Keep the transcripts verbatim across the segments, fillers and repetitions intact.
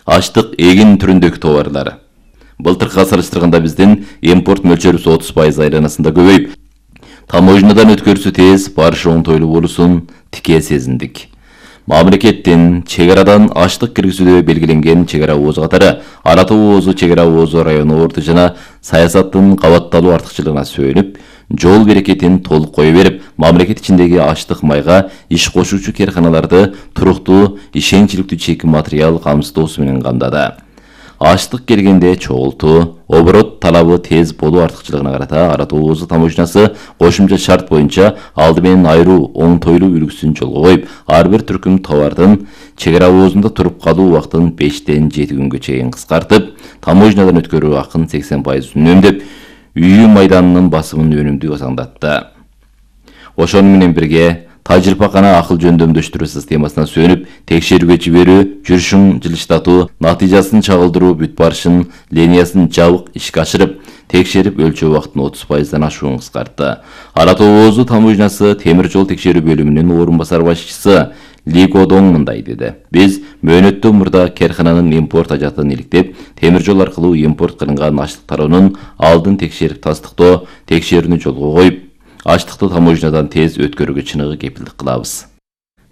Аштык эгин түрүндөгү товарлар. Былтыркыга салыштырганда биздин импорт мөлчөрүбүз отуз пайыз айланасында көбөйүп, таможнядан өткөрүүсү тез, барышы оңтойлуу болуусун тике сезиндик. Мамлекеттин чек арадан аштык киргизүүдө белгиленген чек ара оозу катары Ара Тоо оозу, чек ара оозу району орду жана саясаттын кабатталуу артыкчылыгына сөөнүп, жол берекетин толук кое берип, мамлекет ичиндеги аштык майга иш кошуучу карканаларды туруктуу, ишенчиликтүү чек материал камсыздоосу менен камдады. Аштык келгенде чогултуу, оборот талабы тез болуу артыкчылыгына карата Ара Тоо оозу таможнясы кошумча шарт боюнча алды менен айруу оңтойлуу үлгүсүн жолго коюп, ар бир түркүм товардын чек ара оозунда туруп калуу убактын бештен жети күнгө чейин кыскартып, таможнядан өткөрүү акын сексен пайыз үнөмдөп, үйүү майданынын басымын өнүмдүү саңдатты. Ошону менен бирге тажрыйбакана акыл жөндөмдөштүрүү системасына сөнүп, текшерүүгө жиберүү, жүрүшүн жылыштатуу, натыйжасын чагылдыруу бүт барышын линиясын жабык ишке ашырып, текшерип өлчөө убактын отуз пайыздан ашуун кыскартты. Ара Тоо оозу таможнясы темир жол текшерүү бөлүмүнүн орун басар башчысы Ли Годоң мындай деди. Биз мөөнөттүү мурда керкананын импорт ажатын иликтеп, темир жол аркылуу импорт кылынган аштык тароонун алдын текшерип тастыктоо текшерүүнү жолго коюп, аштыкты таможнядан тез өткөрүүгө чыныгы кепилдик кылабыз.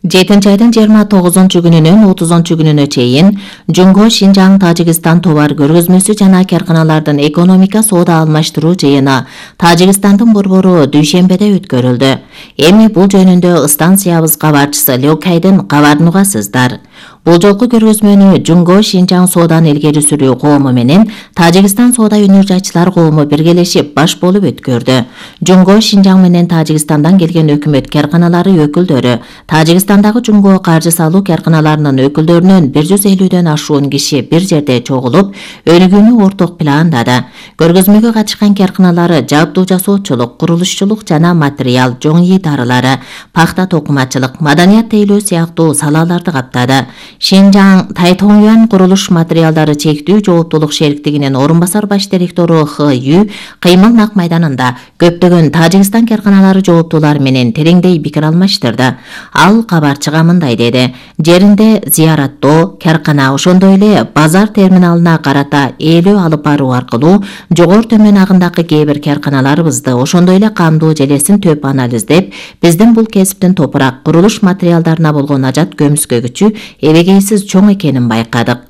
жетинчи айдын жыйырма тогузунчу күнүнөн отузунчу күнүнө чейин Жунго Шинжаң Тажикстан товар көргөзмөсү жана карканалардын экономика соода алмаштыруу жыйыны Тажикстандын борбору дүйшембеде өткөрүлдү. Эми бул жөнүндө станциябыз кабарчысы Лёкайдын кабарын угасыздар. Бул жолку көргөзмөнү Жунго Шинжаң соодан илгери сүрүү коому менен Тажикстан соода өнөр жайчылар коому биргелешип баш болуп өткөрдү. Жунго Шинжаң менен Тажикстандан келген өкмөт карканалары өкүлдөрү, Тажикстандагы Жунго каржы салуу карканаларынын өкүлдөрүнөн бир жүз элүүдөн ашуун киши бир жерде чогулуп, өнүгүүнү орток пландады. Көргөзмөгө катышкан карканалары жабдуу жасоочулук, курулушчулук жана материал, жоң ий дарылары, пахта токумачылык, маданият тейлөө сыяктуу салаларды каптады. Шинжаң Тайтоңюан курулуш материалдары чектүү жооптулук шериктигинин орун басар баш директору Х Ю кыймыл нак майданында көптөгөн Тажикстан карканалары жооптуулар менен тереңдей пикир алмаштырды. Ал кабарчыга мындай деди. Жеринде зыяраттоо, каркана, ошондой эле базар терминалына карата ээлөө алып баруу аркылуу жогору төмөн агындагы кээ бир карканаларыбызды, ошондой эле камдуу желесин төп анализдеп, биздин бул кесиптин топурак, курулуш материалдарына болгон ажат көмүскөгүчү эбегейсиз чоң экенин байкадык.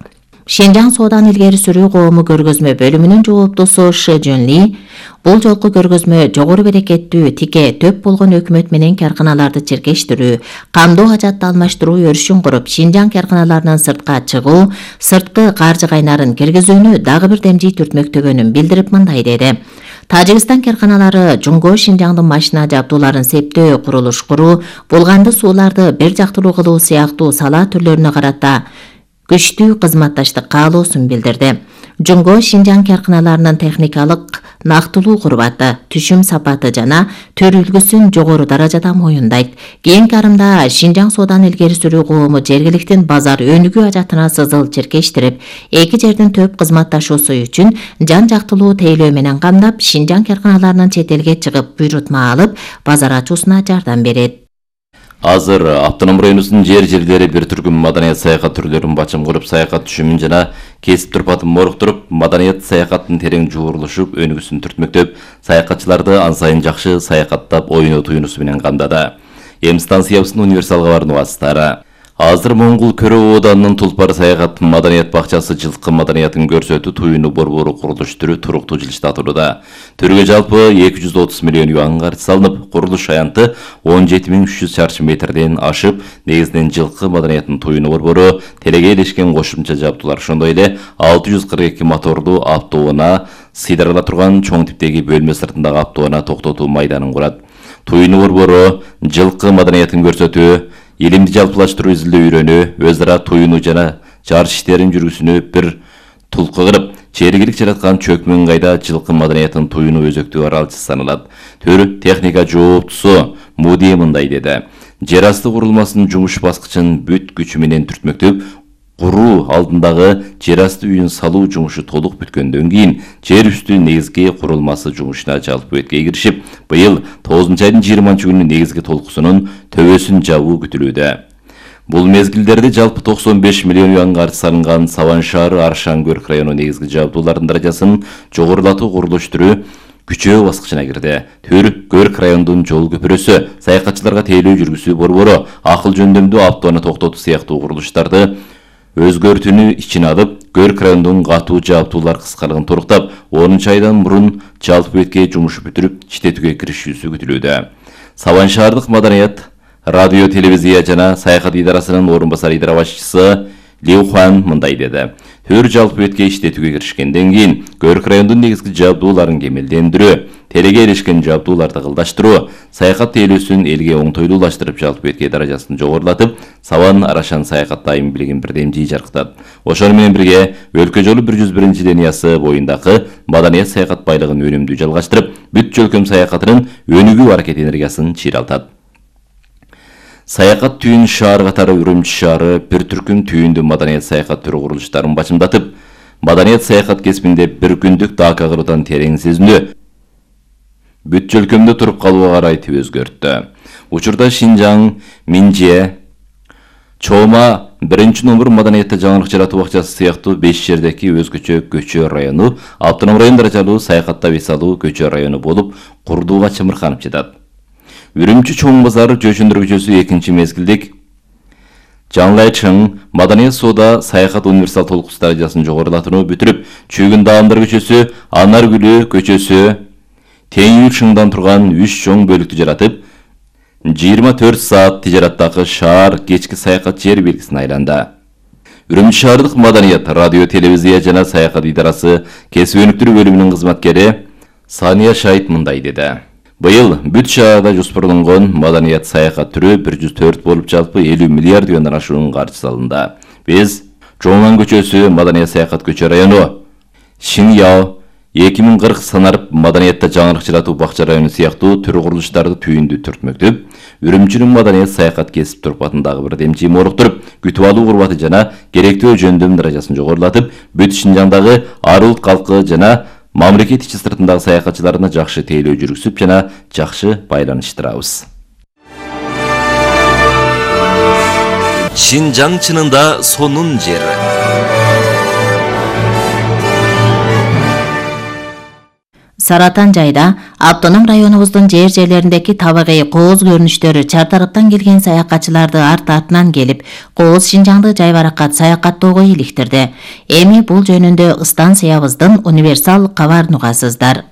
Шинжаң соодан илгери сүрүү коому көргөзмө бөлүмүнүн жооптусу Шы Жөн Ли бул жолку көргөзмө жогору берекеттүү, тике, төп болгон өкмөт менен карканаларды чиркештирүү, камдоо ажатты алмаштыруу өрүшүн куруп, Шинжаң карканаларынан сыртка чыгуу, сырткы каржы кайнарын киргизүүнү дагы бир демжий түртмөктөгөнүн билдирип мындай деди. Тажикстан карканалары Жунго Шинжаңдын машина жабдууларын септөө, курулуш куруу, булганды сууларды бир жактылуу кылуу сыяктуу сала түрлөрүнө карата күчтүү кызматташтык каалоосун билдирди. Жунго Шинжаң карканаларынын техникалык нактылуу курбаты, түшүм сапаты жана төр үлгүсүн жогору даражада моюндайт. Кийинки арымда Шинжаң соодан илгери сүрүү коому жергиликтин базар өнүгүү ажатына сызыл чиркештирип, эки жердин төп кызматташуусу үчүн жан жактылуу тейлөө менен камдап, Шинжаң карканаларынын чет элге чыгып буйрутма алып, базар ачуусуна жардам берет. Азыр автоном районубуздун жер жерлери бир түркүм маданият саякат түрлөрүн бачым куруп, саякат түшүмүн жана кесип турпатын моруктуруп, маданият саякаттын терең жуурулушуп, өнүгүүсүн түртмөктөп, саякатчыларды ан сайын жакшы саякаттап, оюноо туюнусу менен камдады. Эми станциябыздын универсал кабарын угасыздары. Азыр Моңгул Көрө Ооданынын Тулпар саякат маданият бакчасы жылкы маданиятын көрсөтүү туюну борбору курулуштуруу туруктуу жылыштатууда. Түргө жалпы эки жүз отуз миллион юан каржы салынып, курулуш аянты он жети миң үч жүз чарчы метрден ашып, негизинен жылкы маданиятын туюну борбору телегейлешкен кошумча жабдуулар, ошондой эле алты жүз кырк эки мотордуу автоунаа, сыйдырыла турган чоң типтеги бөлмө сыртындагы автоунаа токтотуу майданын курат. Туюну борбору жылкы маданиятын көрсөтүү, илимди жалпылаштыруу изилдөө үйрөнүү, өз ара туюну жана жарыш иштерин жүргүзүүнү бир тулкы кылып, чергилик жараткан чөкмөн кайда жылкы маданиятын туюну өзөктүү аралчысы саналат. Төр техника жооптусу Муди мындай деди. Жер асты курулмасынын жумуш баскычын бүт күчү менен түртмөктөп, куруу алдындагы жер асты үйүн салуу жумушу толук бүткөндөн кийин жер үстү негизги курулмасы жумушуна жалпы өткө киришип, быйыл тогузунчу айдын жыйырманчы күнү негизги толкусунун төбөсүн жабуу күтүлүүдө. Бул мезгилдерде жалпы токсон беш миллион юан каржы салынган Саван шаары Аршан Көрк району негизги жабдуулардын даражасын жогорулатуу курулуш түрү күчөө баскычына кирди. Төр Көрк районунун жол көпүрөсү, саякатчыларга тейлөө жүргүзүү борбору, акыл жөндөмдүү автоону токтотуу сыяктуу курулуштарды өзгөртүүнү ичине алып, Көрк районунун катуу жабдуулар кыскалыгын торуктап, онунчу айдан мурун жалпы бетке жумуш бүтүрүп, иштетүүгө киришүүсү күтүлүүдө. Саван шаардык маданият, радио, телевизия жана саякат идарасынын орун басар идара башчысы Лиу Хуан мындай деди. Төр жалпы бетке иштетүүгө киришкенден кийин Көрк районунун негизги жабдууларын кемелдендирүү, телеге эришкен жабдууларды кылдаштыруу, саякат тейлөөсүн элге оңтойлуулаштырып, жалпы бетке даражасын жогорулатып, Саван Арашан саякат дайым билигин бирдемжий жаркытат. Ошону менен бирге өлкө жолу бир жүз биринчи линиясы боюндагы маданият саякат байлыгын өнүмдүү жалгаштырып, бүт жөлкөм саякатынын өнүгүү аракет энергиясын чыйралтат. Саякат түйүн шаар катары Үрүмчү шаары бир түркүм түйүндүү маданият саякат түрү курулуштарын бачымдатып, маданият саякат кесибинде бир күндүк дака кыруудан терең сезиндүү, бүт жөлкөмдө туруп калууга карай тип өзгөрттү. Учурда Шинжаң, Минже, Чома, биринчи номер маданиятта жаңылык жаратуу бакчасы сыяктуу беш жердеки өзгөчө көчө району, автоном район даражалуу саякатта вес алуу көчө району болуп, курдууга чымырканып жатат. Үрүмчү чоң базары Жөшөндөр көчөсү экинчи мезгилдик Жаңлайчың маданият соода саякат универсал толкус даражасын жогорулатууну бүтүрүп, Чүйгүн Даамдар көчөсү, Анаргүлү көчөсү тең шыңдан турган үч чоң бөлүктү жаратып, жыйырма төрт саат тижараттагы шаар кечки саякат жер белгисине айланды. Үрүмчү шаардык маданият, радио, телевизия жана саякат идарасы кесип өнүктүрүү бөлүмүнүн кызматкери Сания Шайт мындай деди. Быйыл бүт шаарда жоспарланган маданият саякат түрү бир жүз төрт болуп, жалпы элүү миллиард юандан ашуун каржы салынды. Биз Жоңан көчөсү маданият саякат көчө району, Шиньяо, эки миң кырк санарып маданиятта жаңылык жаратуу бакча району сыяктуу түрү курулуштарды түйүндүү түртмөктүп, Үрүмчүнүн маданият саякат кесип турпатындагы бир демчи моруктуруп, күтүп алуу курбаты жана керектүү жөндөм даражасын жогорулатып, бүт Шинжаңдагы ар улут калкы жана мамлекет ичи сыртындагы саякатчыларына жакшы тейлөө жүргүзүп жана жакшы байланыштырабыз. Шинжаң чынында сонун жер. Саратан жайда автоном районубуздун жер жерлериндеки табигый кооз көрүнүштөрү чартарыптан келген саякатчыларды арт-артынан келип, кооз Шинжаңды жайбаракат саякаттоого иликтирди. Эми бул жөнүндө станциябыздын универсал кабарын угасыздар.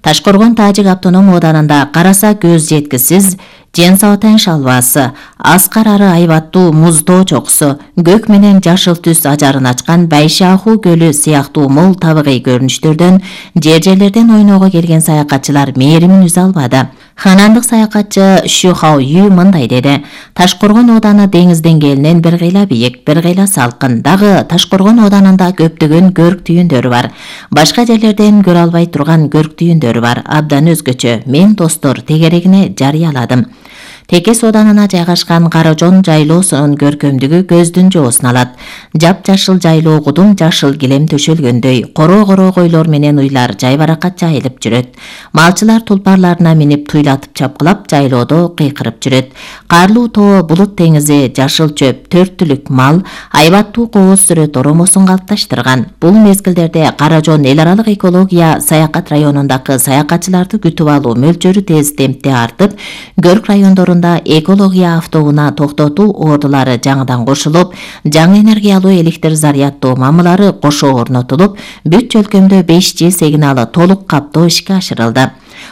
Ташкоргон Тажик автоном ооданында караса көз жеткисиз Женсаотен шалбасы, аскар ары айбаттуу муз тоо чокусу, көк менен жашыл түс ажарын ачкан Байшаху көлү сыяктуу мол табигый көрүнүштөрдөн жер жерлерден ойноого келген саякатчылар мээримин үзө албады. Ханандык саякатчы Шухао Ю мындай деди. Ташкоргон ооданы деңиз деңгээлинен бир кыйла бийик, бир кыйла салкын. Дагы Ташкоргон оодарында көптөгөн көрк түйүндөрү бар. Башка жерлерден көрө албай турган көрк түйүндөрү бар. Абдан өзгөчө. Мен достор тегерегине жарыяладым. Теке сооданына жайгашкан Каражон жайлоосунун көркөмдүгү көздүн жоосун алат. Жап-жашыл жайлоо кудум жашыл килем төшөлгөндөй, коро-коро койлор менен уйлар жайбаракат жайылып жүрөт. Малчылар тулпарларына минип туйлатып чапкылап жайлоодо кыйкырып жүрөт. Карлуу тоо, булут деңизи, жашыл чөп, төрттүлүк мал, айбаттуу кооз сүрөт оромосун калыпташтырган. Бул мезгилдерде Каражон эл аралык экология саякат районундагы саякатчыларды күтүп алуу мөлчөрү тез темпте артып, көрк райондору экология автоуна токтотуу ордулары жаңыдан кошулуп, жаңы энергиялуу электр заряддоо мамылары кошо орнотулуп, бүт жөлкөмдө беш джи сигналы толук каптоо ишке ашырылды.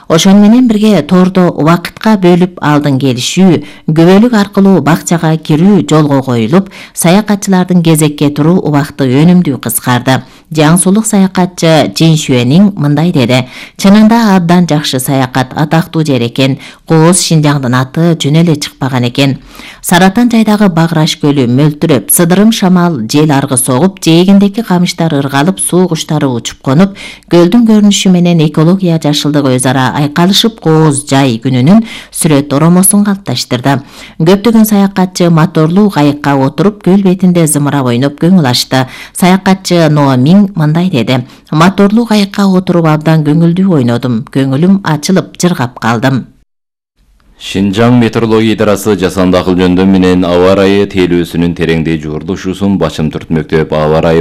Ошону менен бирге тордо убакытка бөлүп алдын келишүү, күбөлүк аркылуу бакчага кирүү жолго коюлуп, саякатчылардын кезекке туруу убакыты өнүмдүү кыскарды. Жаңсулук саякатчы Жин Шуэнин мындай деди. Чынында абдан жакшы саякат, атактуу жер экен. Кооз Шинжаңдын аты жөн эле чыкпаган экен. Саратан жайдагы Баграш көлү мөлтүрөп, сыдырым шамал жел аргы согуп, жээгиндеки камыштар ыргалып, суу куштары учуп конуп, көлдүн көрүнүшү менен экология жашылдыгы өз ара айкалышып, кооз жай күнүнүн сүрөт оромосун калыпташтырды. Көптөгөн саякатчы моторлуу кайыкка отуруп, көл бетинде зымырап ойноп көңүл ачты. Саякатчы Ноа Мин мындай деди. Моторлуу кайыкка отуруп абдан көңүлдүү ойнодум. Көңүлүм ачылып, жыргап калдым. Шинжаң метеорология идарасы жасанды акыл жөндөм менен аба ырайы тейлөөсүнүн тереңдей жуурдушуусун башым түртмөктөп, аба ырайы